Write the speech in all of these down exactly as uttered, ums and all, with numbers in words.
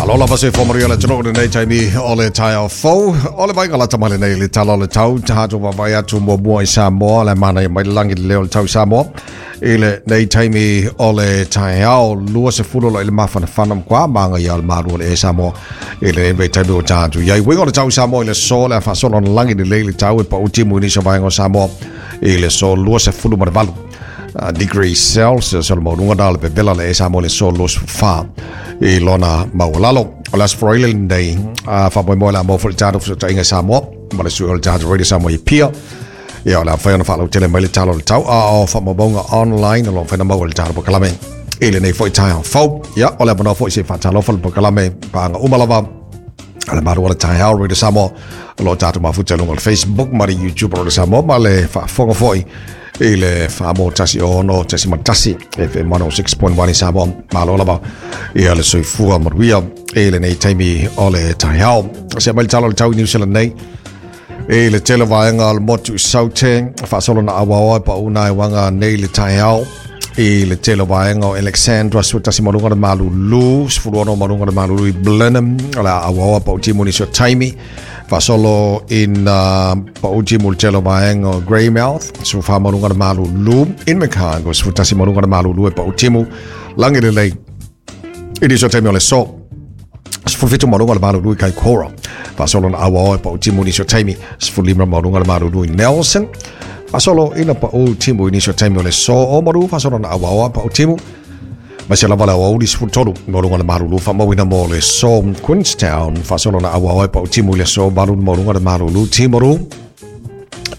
Malo lava se fōmaria le tanoa nei taimi o le taeao fou. O le vainga lata mai lenei le tala o le tau. Tahato wawai atu mua mua i Samoa. Le mana i mai langi le leo le tau i Samoa. I le nei taimi o le taeao. Lua se fulu lo i le mawhanawhana mkwa. Manga ia o le maru o le e Samoa. I le nei taimi o tahato. Iai winga o le tau i Samoa i le so. Le a whaasolo na langi le lei le tau e pa utimu i nisa vainga o Samoa. I le so lua se fulu maravalu. Uh, degree Celsius o le maununga na le pevela le esa mo le so los fa i lona maualalo. O le asfroile nei uh, whamoemoe la mō fo le tātou fusota inga Samoa ma le sui o le tātou Radio Samoa i Pia. Ia o le awhai ona whalau tele mai le talo le tau a o whamabonga online o lo whaina mau le tātou pakalame i le nei fo i taeao fau. Ia o le awanoa fo i se whatalofa le pakalame paanga umalava a le maru o le taeao Radio Samoa o lo tātou mafuta lunga le Facebook ma le YouTube o le Samoa ma le whaafonga foi i le whaamo tasi ono tasi matasi F M one oh six point one i Samoa malo lava ia le soifua maruia i le nei taimi o le taeao. Se mai le talo le tau i New Zealand nei i le tele vaenga o le motu i Saute whaasolo na awaoa pa una e wanga nei le taeao i le tele vaenga o Alexandra suatasi marunga le malulu sefuluono marunga le malulu i Blenheim o le awaoa pa utimu ni sio taimi Fasolo in uh, pauti multelo vaenga o Greymouth, sufa marunga le malulu in Macargo, sufutasi marunga le malulu e pautimu langi le lei. I diso taimi o le so, sufulfitu marunga le malulu i Kaikoura. Fasolo na awaoa e pautimu ni sio taimi, sufulima marunga le malulu i Nelson. Fasolo ina pautimu i nisio taimi o le so o maru, fasolo na awaoa pautimu. Masia lava le awauli sefulutolu maurunga le malulu whamawina mo le so Queenstown whasolo na awaoa pa utimu le so maru maurunga le malulu Timaru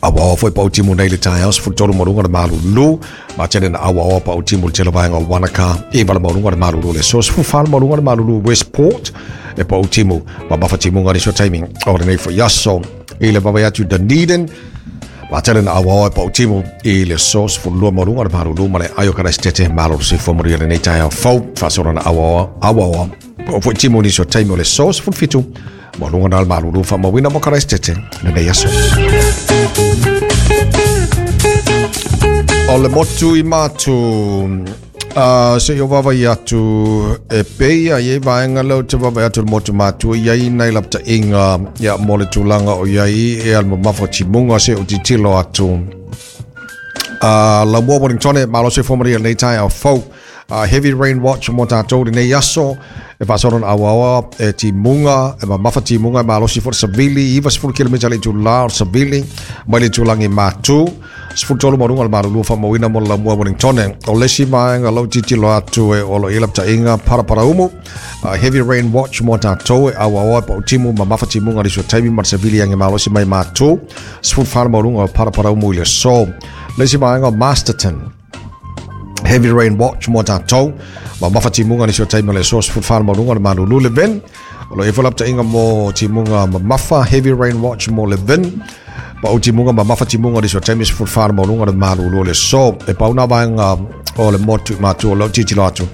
awaoa foi pa utimu nei le taeao sefulutolu maurunga le malulu matele na awaoa pa utimu le tele vaenga o Wanaka i wala maurunga le malulu le so sefulufalo maurunga le malulu Westport e pa utimu ma mawhatimunga ni so taimi o le nei fo iaso i le vavai atu Dunedin Matele na awaoa pa utimu i le sos fulua marunga le marulu ma le aio karastete malo se fo maria le nei taeao fau whasoro na awaoa awaoa o fo timu ni so taimi o le sos fulfitu marunga na le marulu wha mawina mo karastete le nei aso. O le motu i mātu Uh, se i o vavai atu e peia i e vaenga leo te vavai atu le motu mātua i ai nei lapta inga ia mo le tūlanga o iai e al mamafa timunga se o titilo atu. Uh, la mua Wellingtone malo se fōmaria nei taeao fau. Uh, heavy rain watch mo tātou le nei aso e whasoro na awaoa e timunga e mamafa timunga e malosi fo savili iwa sefulu kilomita le tūla o savili mai le tūlangi mātu sefulu tolu marunga le marulu whamawina mo la mua Wellingtone o lesi maenga lau titilo atu e olo ilapta inga parapara umu uh, heavy rain watch mo tātou e awaoa e pa utimu mamafa timunga le taimi ma savili ange malosi mai mātu sefulu whana marunga o parapara umu i le so lesi maenga o Masterton Heavy rain watch mo tātou ma mafa timunga ni sio taimi o le so sefulu whana marunga le malulu Levin o lo e folapta inga mo timunga mamafa heavy rain watch mo Levin pa o timunga mamafa timunga ni sio taimi sefulu whana marunga le malulu le so e pauna vaenga o le motu mātua o lau titilo atu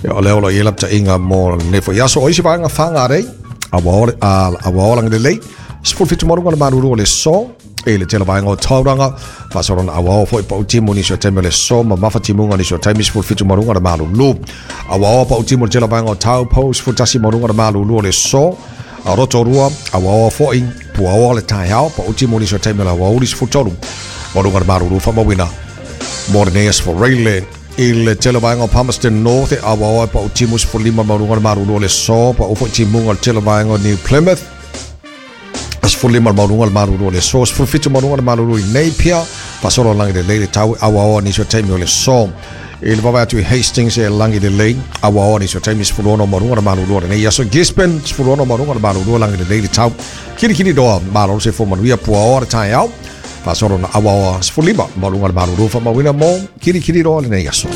o le olo i lapta inga mo nefo iaso o isi vaenga whangarei awaoa langi le lei sefulu fitu marunga le malulu o le so e le tele vaenga o Tauranga whasoro na awaoa foi pa utimu ni sio taimi o le so mamafa timunga ni sio taimi sefulu fitu marunga le malulu awaoa pa utimu le tele vaenga o Taupo sefulu tasi marunga le malulu o le so a Rotorua awaoa foi puaoa le taeao pa utimu ni sio taimi o le awauli sefulu tolu marunga le malulu whamawina Morneas for Reile i le tele vaenga o Palmerston North e awaoa pa utimu sefulu lima marunga le malulu o le so pa ufo timunga le tele vaenga o New Plymouth sefulu lima marunga le malulu o le so sefulu fitu marunga le malulu i Napier whasolo langi le lei le tau awaoa ni sio taimi o le so i le vavai atu i Hastings e langi le lei awaoa ni sio taimi sefulu ono marunga le malulu o le nei aso Gisborne sefulu ono marunga le malulu langi le lei le tau kirikiri doa malolo se fo manuia puaoa le taeao whasolo na awaoa sefulu lima marunga le malulu whamawina mo kirikiri doa le nei aso.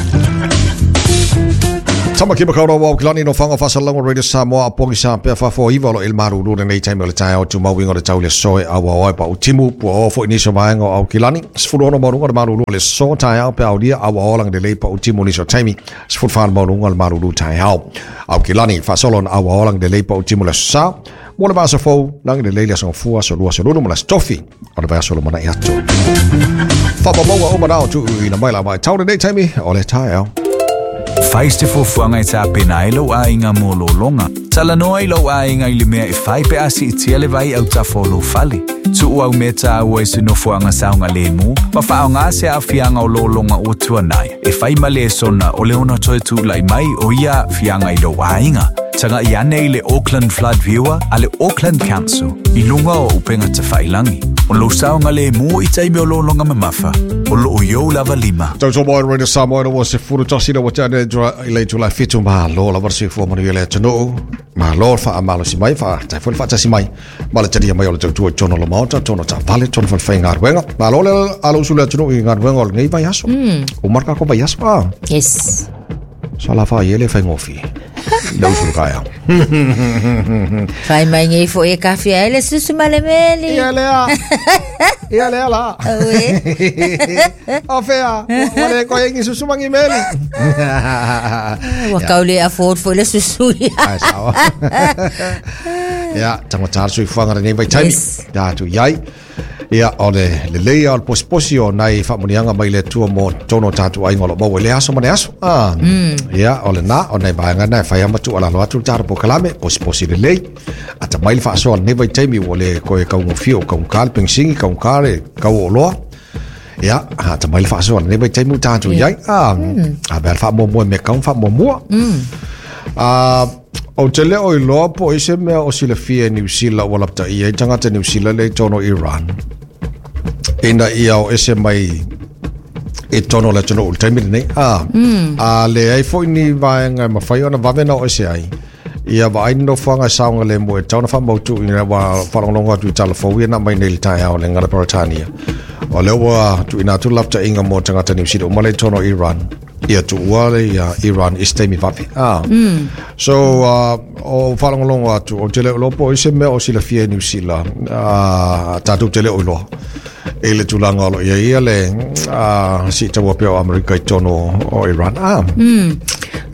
Tama ki makaura wau kilani no whanga whasalango Radio Samoa apongi sa pea whafo iwa lo il maruru le nei taimi o le taeao tu mauinga o le tau le soe awaoa e pa utimu puaoa fo iniso vaenga o au kilani sefulu ono marunga le maruru le so taeao pe aulia awaoa langi le lei pa utimu niso taimi sefulu whana marunga le maruru taeao au kilani whasolo na awaoa langi le lei pa utimu le sa mo le vasa fou langi le lei le asanga fua so lua so lulu mo le stofi o le vasa lo mana i atu Whapamaua o manao tu ina mai la mai tau le nei taimi o le taeao. Fai se fuafuaga e tapena ai lou aiga mo lologa. Talanoa i lou aiga i le mea e fai pe a siitia le vai autafa o lou fale. Tuu au mea taua i se nofoaga saogalemu ma faaaoga se aafiaga o lologa ua tuanai e fai ma lesona o le ono toe tulai mai o ia aafiaga i lou aiga. Taga'i ane i le Auckland Flood Viewer a le Auckland Council i luga o upega tafailagi. O lou saogalemu i taimi o lologa mamafa o loo i ou lava lima. Tau tō mai Radio Samoa ua se furu tasi na wate ane i le tula fitu malo la varsi fua manu i le atunuu. Malo wha amalo si mai, wha tai fua wha mai. Ma le taria mai o le tautua i tono la maota, tono ta vale, tono wha whai ngā. Malo le alo usu le atunuu i ngā ruenga o le ngei vai aso. O marka ko vai aso, ah. Yes. Sa la wha i ele whai ngofi. Le usu le. Whai mai ngei fo e kawhia ele susu male meli. Ia lea. Ia lea la. Oe. O whea. Wale koe ingi susu mangi meli. Wa kaule a ford fo le susu ia. Ai sawa. Ia, tango tāra sui fuanga nei vai taimi. Ia atu iai. Ia, o le le leia o le posiposi o nai whaamunianga mai le tua mo tono tātu ainga o lo maua i le aso ma le aso. Ah. Mm. Ia, o le nā, o nei vaenga nai whai ama tu alalo atu tāra po kalame, posiposi le lei. Ata mai le whaasoa le nei vai taimi o le koe kaungofio, kaungkale, pengsingi, kaungkale, kau o loa. Ia, ata mai le whaasoa le nei vai taimi o tātu iai. Ah, a bea le whaamua me kaung whaamua. Mm. Ah, o te leo i loa po i se mea o silafia New Zealand ua lapta ia i tangata New Zealand le tono Iran. Ina ia o ese mai e tono le tono ul taimi nei. Ah, mm. A le ai foi ni vaenga mawhai ona vavena o ese ai. Ia wa ai no whanga saunga le mo e tauna wha mautu ina wa wharongonga atu i tala fau na mai nei le tai ao le ngara Britania. O leo wa tu ina tu lapta inga mo tangata New Zealand umale tono Iran. Ia tu uale ia Iran is taimi vape. Ah. Mm. So uh, o whalongolongo atu o te leo lopo i se mea o silafia New Zealand. Ah, tātou te leo i loa. E le tūlanga alo ia ia le uh, si taua peo Amerika i tono o Iran. Ah. Mm.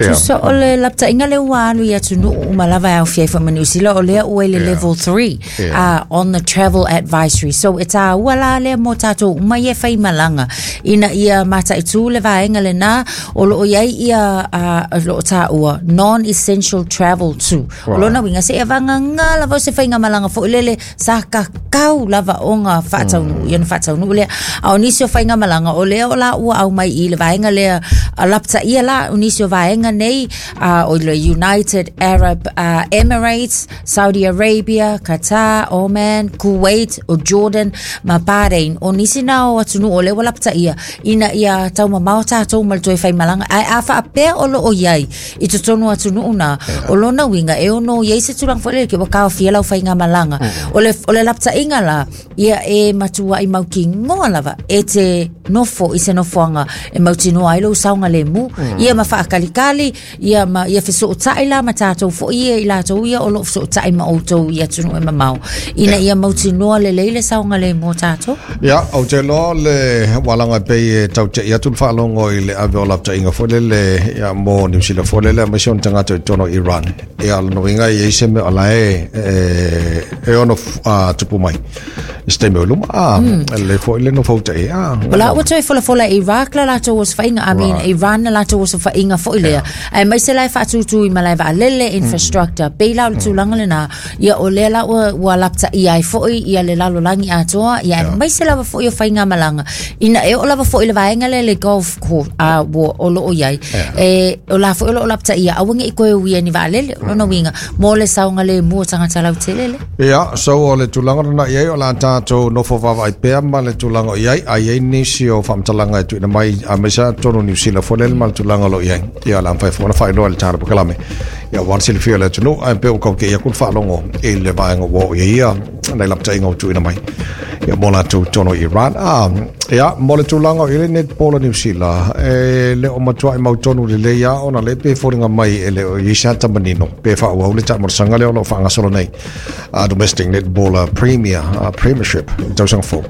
Yeah. So o le lapta inga le ua alu i atunuu umalava au fia ifo ma New Zealand o lea ua i le yeah. level three yeah. uh, on the travel advisory. So e tā ua la lea mō tātou uma ia whai malanga. Ina ia mata i tū le vaenga le nā o loo iai ia uh, loo tā ua non-essential travel too. Right. O lona winga se e vanga ngā lava o se whainga malanga fo ilele sa kakau lava o ngā whaataunu. Mm. Ia na whaataunu lea. A o nisi o whainga malanga o lea o la ua au mai i le vaenga lea lapta ia la o nisi o vaenga nei uh, o le United Arab uh, Emirates, Saudi Arabia, Qatar, Oman, Kuwait, o Jordan, ma Bahrain. O nisi na o atunu o lewa lapta ia ina ia tau mamao tātou ma le toe whai malanga. Ai a whaapea o lo o iai i totonu atunu una yeah. O lona winga e ono iai se turang whaelele ke wakao fia lau whai ngā malanga. Mm. O le, o le lapta inga la ia e matua i mauki ngoa lava e te nofo i se nofoanga e mautinoa ai lou saoga lemu. Mm. Ia ma faakalikali ia ma ia fesootai la ma tatou foi ia i latou ia o loo fesootai ma outou i atunuu e mamao ina ia mautinoa lelei le saoga lemu o tatou. Ia o te loa le walaga pei e taute'i atu le faalogo i le ave o laptaʻiga foi lele ia mo New Zealand foi lele aemaise ona tagata i totonu o Iran. Ia lonoiga i ai se mea o lae e e ono tupu mai i se taimi o luma. Ah, le foi le no fautaʻi. Ah, o la ua toe folafola e Iraq la latou osofaiga I mean Iran la latou osofaiga foi lea ae maise lae faatūtū i malae vaalele infrastructure pei la o le tulaga lenā ia o lea la ua, ua laptaʻia ai foi ia le lalolagi atoa ia ae maise lava foi o faigamalaga ina e oo lava foi le vaega lea le golf course a ua o loo iai e o la foi o loo laptaʻia aua geʻi koe uia ni vaalele o lona uiga mo le saoga lemu o tagata lautele le. Ia so o le tulaga lena iai o la tātou nofo vaavaai pea ma le tulaga o iai ai ai nisi o faamatalaga e tuuina mai aemaise totonu New Zealand foi lele ma le tulaga o loo iai ia la mafai foi ona faailoa i le tāra pokalame ia ua silafia le atunuu ae pea ua kaukeʻi aku le faalogo i le vaega ua oo iai ia nai laptaʻiga ua tuuina mai ia mo latou totonu Iran. Ah, ia mo le tulaga o i le netball a New Zealand e le o matuaʻi mautonu lelei a ona le pe foliga mai e le o iai se ata manino pe faaauau le taamolosaga lea o loo faagasolo nei uh, domestic netball premier uh, premiership tausaga fou.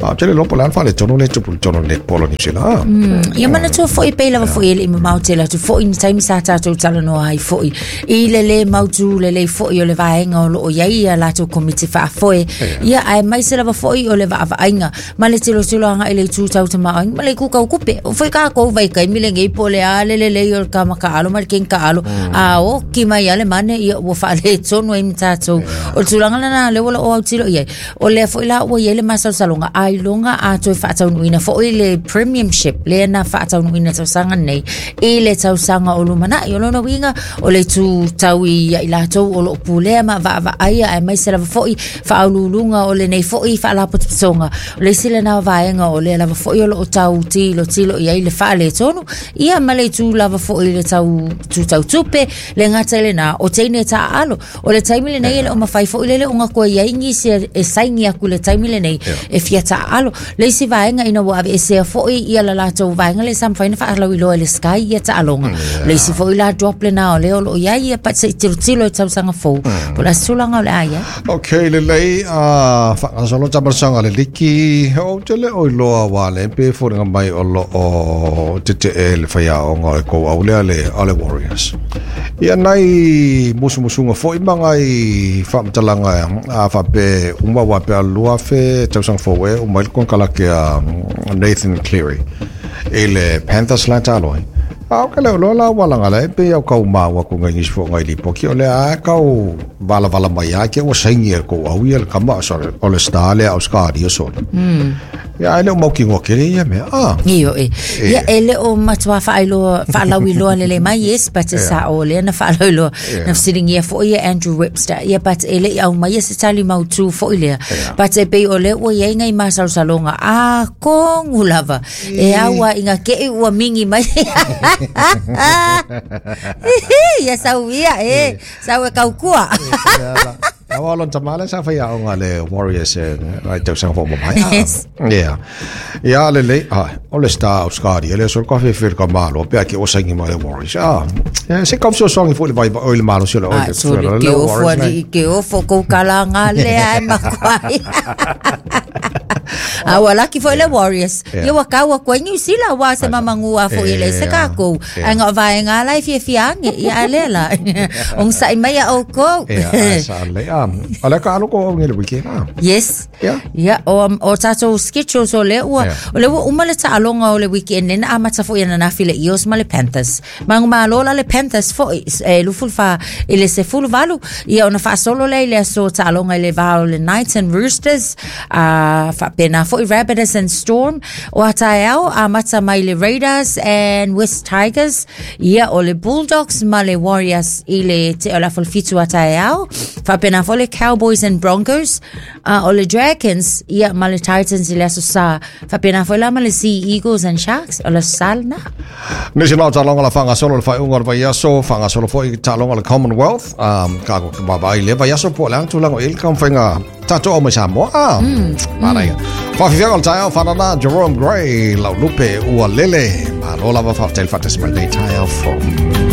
Ah, tele lopo le ana faale tonu le tupu le tonu netball a New Zealand. Ah. Mm, ia manatua foi pei lava foi e leʻi mamao tele atu foi ni taimi sa tatou talanoa ai foi i le lē mautū lelei foi o le vaega o loo iai ia latou komiti faafoe ia ae maise lava foi o le vaavaaiga ma le tilotilo anga ile tu tau tama ai ma le ku kau kupe o foi ka ko vai kai mile ngei po le a le le le o ka maka alo ma ken ka alo a o ki mai ale mane ia ua faale tonu ai mtatou o tulaga lena le wala o autilo ia o le foi la ua ia le masalosaloga ailoga a toe faataunuuina foʻi le premiership lea na faataunuuina tausaga nei i le tausaga o lumanaʻi. O lona uiga o le tutau ia i latou o loo pulea ma vaavaai ae maise lava foʻi faaululuga o lenei foʻi faalapotopotoga. O le isi lena vaega o lea lava foʻi o loo tau tilotilo i ai le faaletonu ia ma le itu lava foʻi le tau tutau tupe le gata i lena o teine taaalo o le taimi lenei e le o mafai foʻi lele o gakoa iai nisi e saini aku le taimi lenei e fia taaalo. Le isi vaega ina ua aveesea foʻi ia la latou vaega le sa mafai na faalauiloa e le Sky ia taaloga. Le isi foʻi la drop lena o lea o loo iai ia pa seʻi tilotilo i tausaga fou po le tulaga o le a iai. Ok, lelei a faagasolo tamasaga le liki o te le o iloa wa le pe foliga mai o loo tetee le faiaoga o le kou au lea le o le Warriors. Ia nai musumusuga foʻi ma gai faamatalaga a faape uma ua pe alua fe tausaga fou e uma i le konekarake a Nathan Cleary i le Panthers la talo ai. A o ka leo loa la walaga le pe au kau maua ku ngai nisi foʻi ngai lipoki o le a kau valavala mai a ke ua saini e le kou au ia le kama o le star lea au skaria sole. Ia ai le o maukigoa kele ia mea a. Io e. Ia e le o matua faailoa faalauiloa lelei mai yes but e sao lea na faalauiloa na fesiligia foʻi ia Andrew Webster ia but e leʻi au mai ia se tali mautū foʻi lea but e pei o lea ua iai gai masalosaloga a kogu lava e aua iga keʻi ua mingi mai. Ia sau ia e sau e kaukua. Awa lon tamale sa fai aonga le Warriors e ai tausaga fou mamai. Yes. Yeah. Ia le le ah o le star o Scotty le so ka fe fe ka malo pe ke o saini mai le Warriors. Ah. Se ka so songi fo le vai o le malo se le o le le Warriors. Ke o fo ko kala le ai makwai. A ua laki foʻi le Warriors. Ia ua kau aku ai New Zealand ua se mamagua foʻi le se kākou. Ai ngā vaega la e fiafia age ia a lea la. Ogasaʻi mai a oukou. Ia ai sa le a. O le ka alo ko au le weekend a. Yes. Ia. Ia o o tatou schedules o le ua o le ua uma le taaloga o le weekend lena amata foʻi ananafi le Eels ma le Panthers. Magumālō la le Panthers foʻi e lufulufa i le sefuluvalu ia ona faasolo lea i le aso taaloga i le va o le Knights and Roosters a faapena foʻi Rabbitohs and Storm o ataeao amata mai le Raiders and West Tigers ia o le Bulldogs ma le Warriors i le te o la fitu ataeao faapena foʻi le Cowboys and Broncos uh, o le Dragons ia ma le Titans i le aso sa faapena foʻi la ma le Sea Eagles and Sharks o le aso sa lena. Nisi lau taaloga la faagasolo le faaiuga o le vaiaso faagasolo foʻi taaloga le Commonwealth um, ka vaavaai le vaiaso po o le aga tulaga i le taumafaiga tatou au mai Samoa a manaia. Faafifiaga o le taeao faanana Jerome Gray lau lupe ua lele malo lava faafetai le faatasi mai lenei taeao fou.